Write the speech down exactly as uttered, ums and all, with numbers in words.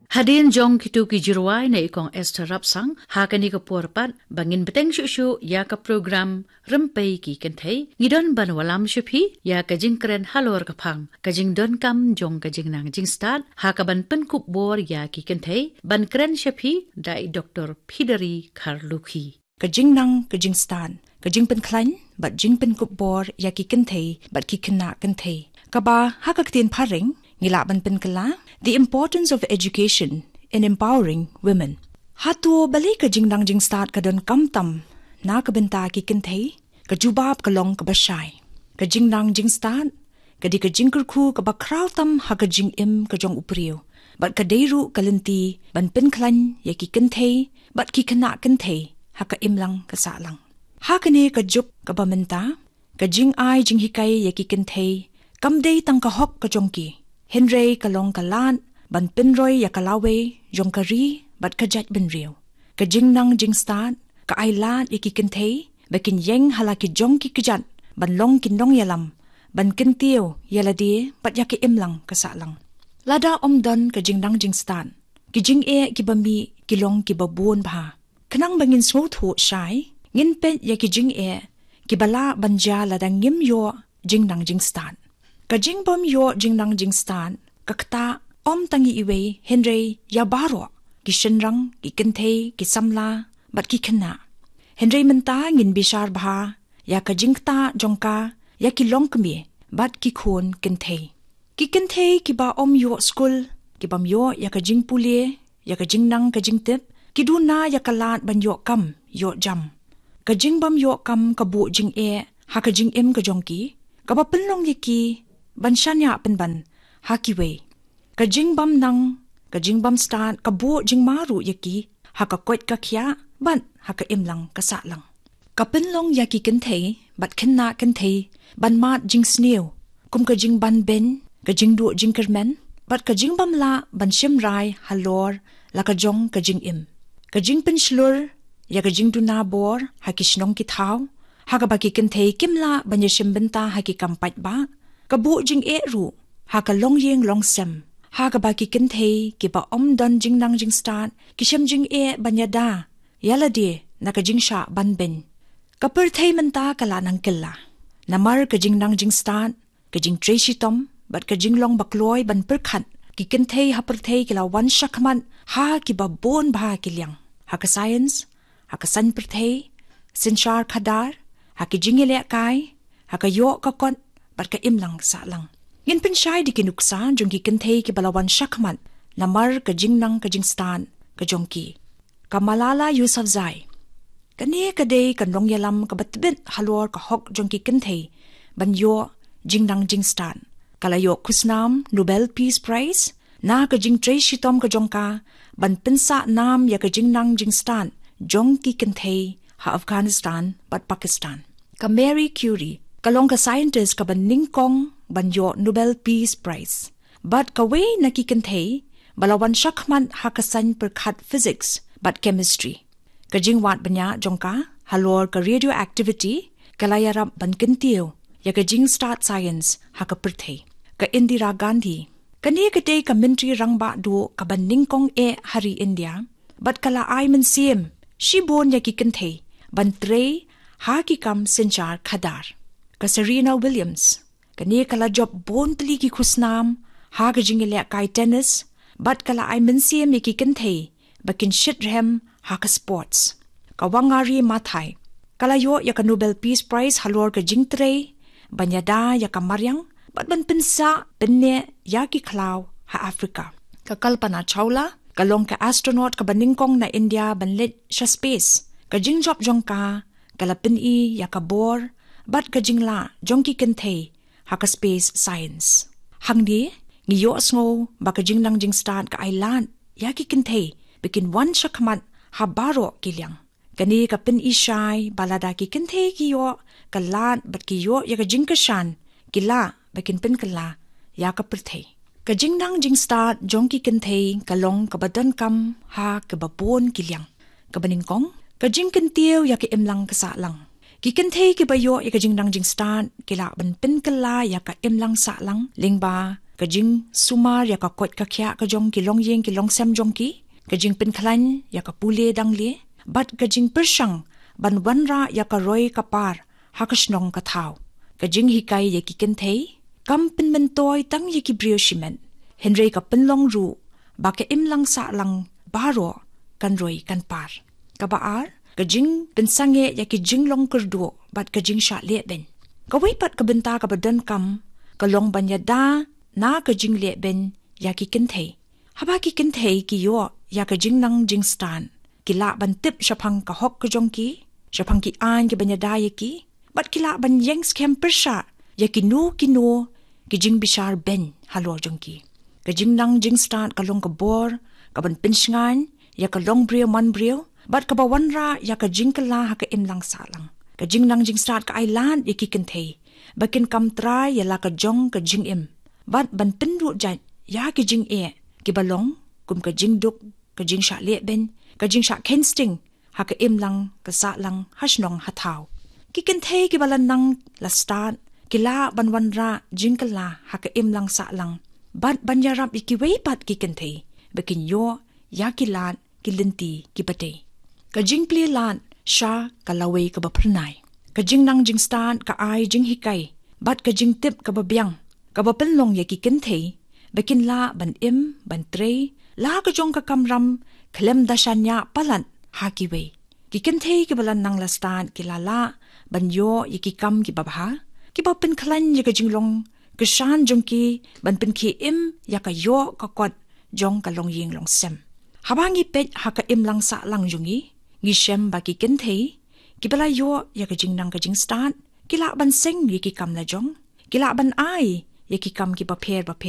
Hadien jong kito ki jingrwai na i Kong Esther Rapsang, ha kane ka por pat ba ngin bteng shuh shuh ïa ka program Rympei ki Kynthei, ngi don ban wallam sha phi ïa ka jingkren halor ka phang ka jingdonkam jong ka jingnang jingstad ha kaban pynkup bor ïa ki kynthei, ban kren sha phi da i Doktor Phidari Kharlukhi. Ka jingnang ka jingstad, ka jingpynkhlaiñ bad jingpynkup bor ïa ki kynthei bad ki khynnah kynthei, kaba ha ka ktien phareng ngi lah ban pynkylla The Importance of Education in Empowering Women. Hato balei ka jingnang jingstad ka donkam tam na ka bynta ki kynthei? Ka jubab ka long kaba shai. Ka jingnang jingstad ka dei ka jingkyrkhu kaba khraw tam ha ka jingim ka jong u briew, bad ka dei ruh ka lynti ban pynkhlaiñ ïa ki kynthei bad ki khynnah kynthei ha ka imlang ka sahlang. Ha kane ka juk kaba mynta, ka jingai jinghikai ïa ki kynthei kam dei tang ka hok ka jong ki, hynrei ka long ka lad ban pynroi ïa ka lawei jong ka ri bad ka jaitbynriew. Ka jingnang jingstad ka ai lad ïa ki kynthei ba kin ïeng ha la ki jong ki kjat ban long ki nongïalam, ban kyntiew ïa lade bad ïa ka imlang ka sahlang. Lada ym don ka jingnang jingstad, ki jingeh kiba mih ki long kiba bun bha. Khnang ba ngin sngewthuh shai, ngin peit ïa ki jingeh kiba lah ban jia lada ngim ïoh jingnang jingstad. Ka jingbym ïoh jingnang jingstad ka ktah ym tang ïa iwei, hynrei ïa baroh, ki shynrang, ki kynthei, ki samla bad ki khynnah. Hynrei mynta ngin bishar bha ïa ka jingktah jong ka ïa ki longkmie bad ki khun kynthei. Ki kynthei kiba ym ïoh skul, kibym ïoh ïa ka jingpule, ïa ka jingnang ka jingtip, ki duna ïa ka lad ban ïoh kam ïoh jam. Ka jingbym ïoh kam ka buh jingeh ha ka jingim ka jong ki, kaba pynlong ïa ki ban shaniah pynban ha kiwei. Ka jingbym nang, ka jingbym stad ka buh jingma ruh ïa ki ha ka koit ka khiah bad ha ka imlang ka sahlang. Ka pynlong ïa ki kynthei bad khynnah kynthei ban mad jingsniew, kum ka jingban beiñ, ka jingduh jingkyrmen bad ka jingbym lah ban shim rai halor la ka jong ka jingim. Ka jingpynshlur ïa ka jingduna bor ha ki shnong ki thaw, ha kaba ki kynthei kim lah ban ïashim bynta ha ki kam paidbah, ka buh jingeh ruh ha ka longïing longsem, ha kaba ki kynthei kiba ym don jingnang jingstad ki shem jingeh ban ïada ïa lade na ka jingshah ban beiñ. Ka pyrthei mynta ka la nang kylla. Namar ka jingnang jingstad, ka jingtrei shitom bad ka jinglong bakloi ban pyrkhat, ki kynthei ha pyrthei ki la wan shakhmat ha kiba bun bha ki liang. Ha ka science, ha ka saiñ pyrthei, synshar khadar, ha ki jingïalehkai, ha ka ïoh ka kot bad ka imlang sahlang. Ngin pynshai da ki nuksa jong ki kynthei kiba la wan shakhmat namar ka jingnang ka jingstad ka jong ki. Ka Malala Yousafzai. Kane ka dei ka nongïalam kaba tbit halor ka hok jong ki kynthei ban ïoh jingnang jingstad. Ka la ïoh khusnam Nobel Peace Prize na ka jingtrei shitom ka jong ka ban pynsah nam ïa ka jingnang jingstad jong ki kynthei ha Afghanistan bad Pakistan. Ka Marie Curie ka long ka scientist kaba nyngkong ban ïoh Nobel Peace Prize bad kawei na ki kynthei ba la wan shakhmat ha ka saiñ pyrkhat physics bad chemistry. Ka jingwad bniah jong ka halor ka radioactivity ka la ïarap ban kyntiew ïa ka jingstad science ha ka pyrthei. Ka Indira Gandhi. Kane ka dei ka Myntri Rangbah Duh kaba nyngkong eh ha ri India bad ka la ai mynsiem shibun ïa ki kynthei ban trei ha ki kam synshar khadar. Ka Serena Williams. Kane ka la jop bun tylli ki khusnam ha ka jingïalehkai tennis bad ka la ai mynsiem ïa ki kynthei ba kin shitrhem ha ka sports. Ka Wangari Maathai. Ka la ïoh ïa ka Nobel Peace Prize halor ka jingtrei ban ïada ïa ka mariang bad ban pynsah pynneh ïa ki khlaw ha Africa. Ka Kalpana Chawla ka long ka astronaut kaba nyngkong na India ban leit sha space. Ka jingjop jong ka ka la pyni ïa ka bor bad ka jinglah jong ki kynthei ha ka space science. Hangne ngi ïohsngew ba ka jingnang jingstad ka ai lad ïa ki kynthei ba kin wan shakhmat ha baroh ki liang. Kane ka pyni shai ba lada ki kynthei ki ïoh ka lad bad ki ïoh ïa ka jingkyrshan, ki lah ba kin pynkylla ïa ka pyrthei. Ka jingnang jingstad jong ki kynthei ka long kaba donkam ha kaba bun ki liang. Kaba nyngkong, ka jingkyntiew ïa ka imlang ka sahlang. Ki kynthei kiba ïoh ïa ka jingnang jingstad ki lah ban pynkylla ïa ka imlang sahlang lyngba ka jingsumar ïa ka koit ka khiah ka jong ki longïing ki longsem jong ki, ka jingpynkhlaiñ ïa ka pule dangle, bad ka jingpyrshang ban wanrah ïa ka roi ka par ha ka shnong ka thaw. Ka jinghikai ïa ki kynthei kam pynmyntoi tang ïa ki briew shimet, hynrei ka pynlong ruh ba ka imlang sahlang baroh kan roi kan par. Kaba ar, ka jingpynsangeh ïa ki jinglong kyrduh bad ka jingshah lehbeiñ. Kawei pat ka bynta kaba donkam ka long ban ïada na ka jinglehbeiñ ïa ki kynthei. Haba ki kynthei ki ïoh ïa ka jingnang jingstad, ki lah ban tip shaphang ka hok ka jong ki, shaphang ki aiñ kiban ïada ïa ki, bad ki lah ban ïeng skhem pyrshah ïa kino kino ki jingbishar beiñ halor jong ki. Ka jingnang jingstad ka long ka bor kaban pynshngaiñ ïa ka longbriew manbriew, bad kaba wanrah ïa ka jingkylla ha ka imlang sahlang. Ka jingnang jingstad ka ai lad ïa ki kynthei ba kin kam trai ïa la ka jong ka jingim, bad ban pynduh jait ïa ki jingeh kiba long kum ka jingduk, ka jingshah lehbeiñ, ka jingshah kheiñ sting ha ka imlang ka sahlang, ha shnong ha thaw. Ki kynthei kiba la nang la stad ki lah ban wanrah jingkylla ha ka imlang sahlang, bad ban ïarap ïa kiwei pat ki kynthei ba kin ïoh ïa ki lad ki lynti kiba dei. Ka jingplie lad sha ka lawei kaba phyrnai. Ka jingnang jingstad ka ai jinghikai bad ka jingtip kaba biang, kaba pynlong ïa ki kynthei ba kin lah ban im ban trei la ka jong ka kamram khlem da shaniah palat ha kiwei. Ki kynthei kiba la nang la stad ki la lah ban ïoh ïa ki kam kiba bha, kiba pynkhlaiñ ïa ka jinglong kyrshan jong ki ban pynkhie im ïa ka ïoh ka kot jong ka longïing longsem. Haba ngi peit ha ka imlang sahlang jong ngi, ngi shem ba ki kynthei kiba la ïoh ïa ka jingnang ka jingstad ki lah ban seng ïa ki kam la jong, ki lah ban ai ïa ki kam kiba pher bapher.